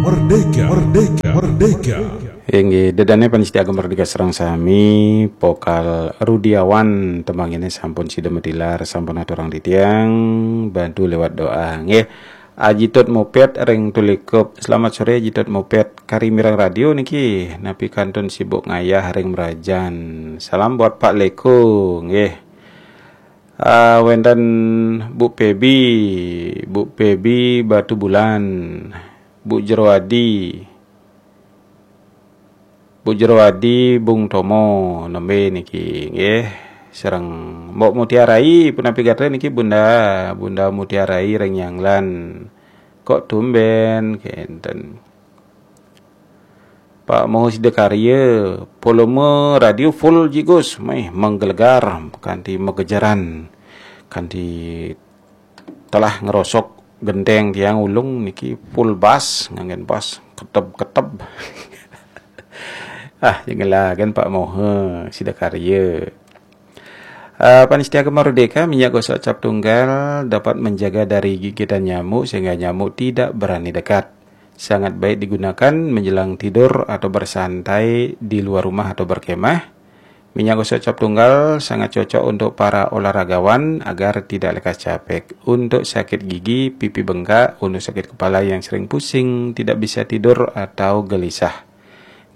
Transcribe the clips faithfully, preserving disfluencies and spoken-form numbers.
Merdeka, merdeka, merdeka. Inggih, dedane panitia Agama Merdeka sareng sami, Pokal Rudiawan tembangine sampun sida metilar, sampun aturang titiang, bantu lewat doa. Nggih. Aji Tut Moped ring Tulikup. Selamat sore Aji Tut Moped. Kari mireng radio niki, napi kantun sibuk ngayah ring Merajan. Salam buat Pak Leko, nggih. Ah, wenten Bu Pebi, Bu Pebi Batu Bulan, Bu Jerwadi, Bu Jerwadi, Bung Tomo, nembe niki, nggih. Sareng Mbok Mutiarai, punapi gatra niki Bunda, Bunda Mutiarai ring Nyanglan. Kok tumben, kenten. Pak Moho Sidakarya, volume radio full jigus, meh menggelegar, kanti megejeran, kanti telah ngerosok genteng tiang ulung niki full bass, nganggen bass, keteb-keteb. Ah, jengelaken Pak Moho Sidakarya. Uh, Panitia Agama Merdeka, minyak gosok cap tunggal dapat menjaga dari gigitan nyamuk sehingga nyamuk tidak berani dekat. Sangat baik digunakan menjelang tidur atau bersantai di luar rumah atau berkemah. Minyak gosok cap tunggal sangat cocok untuk para olahragawan agar tidak lekas capek. Untuk sakit gigi, pipi bengkak, untuk sakit kepala yang sering pusing, tidak bisa tidur atau gelisah.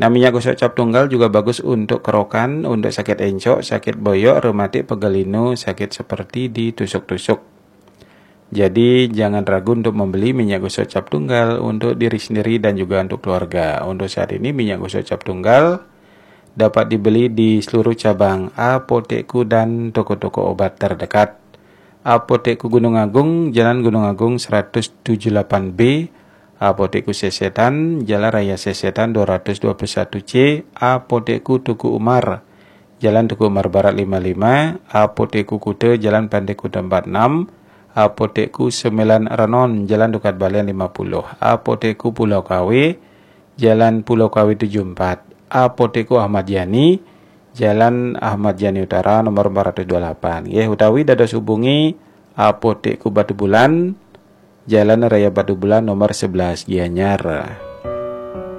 Nah, minyak gosok cap tunggal juga bagus untuk kerokan, untuk sakit encok, sakit boyok, rematik, pegal linu, sakit seperti ditusuk-tusuk. Jadi, jangan ragu untuk membeli minyak gosok cap tunggal untuk diri sendiri dan juga untuk keluarga. Untuk saat ini, minyak gosok cap tunggal dapat dibeli di seluruh cabang Apotekku dan toko-toko obat terdekat. Apotekku Gunung Agung, Jalan Gunung Agung seratus tujuh delapan B, Apotekku Sesetan, Jalan Raya Sesetan dua ratus dua puluh satu C, Apotekku Teuku Umar, Jalan Teuku Umar Barat lima lima, Apotekku Kuta, Jalan Pantai Kuta empat enam, Apotekku Sembilan Renon, Jalan Dukat Balian lima puluh, Apotekku Pulau Kawe, Jalan Pulau Kawe tujuh empat, Apotekku Ahmad Yani, Jalan Ahmad Yani Utara nomor empat ratus dua puluh delapan. Nggih, utawi dados hubungi Apotekku Batu Bulan, Jalan Raya Batu Bulan nomor sebelas, Gianyar.